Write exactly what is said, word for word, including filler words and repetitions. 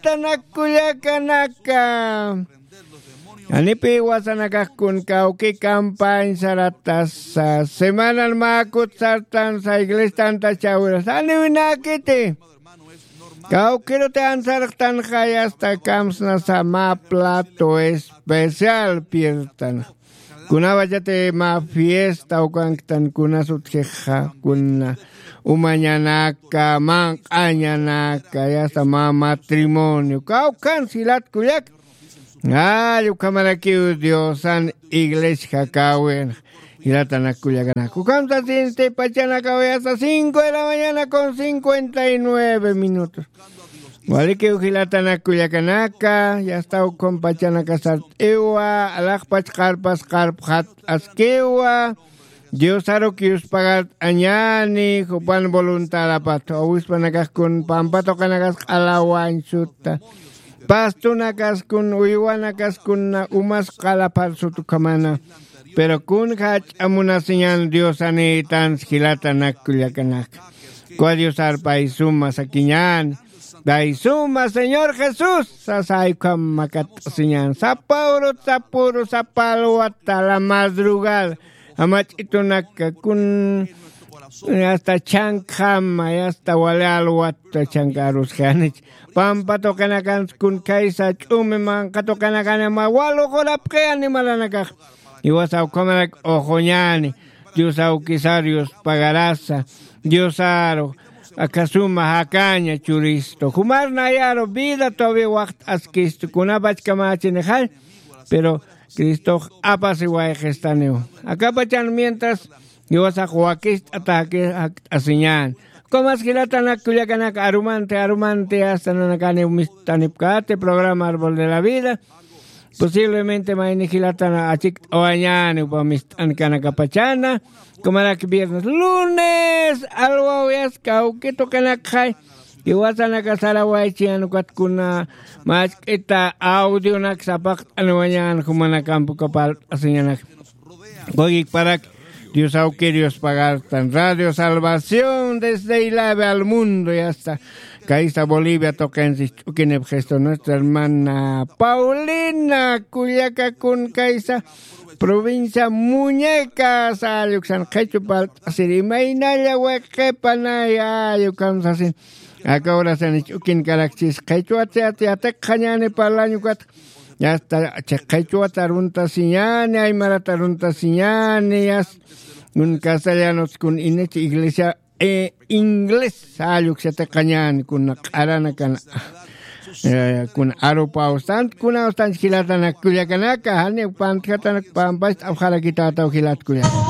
Tanak kullakanaka, janipi wasanakax kun kawki campañ saratasa, semanan mä kut sartansa, iglesia tanta chawirasa, janiwinakiti. Kawkiruti ansarxtanxay, asta kamsnasa mä plato especial piertan. Kunawachati mä fiesta ukanktan, kunas utjixa, kuna umañanaka, manq'añanaka, yasta mä matrimonio kawkans jilat kullak. Ay, ukhamarakiw Diosan iglesia jakawin. Jilatanak kullakanaka, ukham sasinti pachanakaw yasta cinco de la mañana con cincuenta y nueve minutos. Walikiw jilatanak kullakanaka, yasta ukham pachanaka sart'iwa, alaxpach qarpas qarpxat askiwa. Diosaruk yuspagart'añani, jupan voluntadapat, owispanakax kun pampa tuqinakas q'alawañ sutta, pastunakas kun, uywanakas kun, umas q'alapar sut ukhamana. Pero kun jach'a munasiñan Diosanïtans jilatanak kullakanaka. Kwa Diosar pay suma sakiñan, pay suma Señor Jesús sasa, ay ukham makat'asiñan. Sapa urut, sapa uru, sapa alwata, la madrugada, jamach'itunaka kun, hasta chankjama, hasta wali alwata chankarusxanich. Pampa tuqinakans kun kaysa ch'umi manqa tuqinakanama waluqurapxi animalanakax. Iwasa ukhamarak uxuñani, Dios awkisar yuspagarasa, Diosaru akasuma jakaña churistu. Jumar nayaru vida todavía waqt'askistu, kunapach kamachinixay, pero Cristox apasiwayxistaniw. Akapachan mientras iwasax wakist'ata jaki-, jakt'asiñan. Kumas jilatanak kullakanaka, arumanti, arumanti, hasta nanakaniw mist'anipkati programa Árbol de la Vida. Posiblemente mayni jilatana achikt'awañani upa mist'ankanakapachana. Kumarak viernes, lunes, alwaw yasta kawki tuqinakxay. Iwasanaka sarawaychiñan ukat kuna machk'ita audionak sapaqt'aniwañan jumanakamp uka parlt'asiñanak. Juegik parak Dios awkir yuspagartan. Radio Salvación desde Ilave al mundo, yasta. Kaysa Bolivia tuqinsi ch'ukinipxistu nuestra hermana Paulina kullaka kun kaysa provincia Muñecas, alluksan qhichwa parlt'asir imaynalla wiqipanay, allukam sasin. Aka horasanich ukin karakchis qhichwat yatiqxañani parlañ ukat. Yasta qhichwat aruntasiñani, aymarat aruntasiñani, yasta kun castellanos kun inich iglesia, eh, inglés, alluk yatiqxañani kun q'aranakan, eh, kun arupaw sant, kuna ustanch jilatanak kullakanaka, jani pantjatanak pampach t'apxarakitataw jilat kullaka.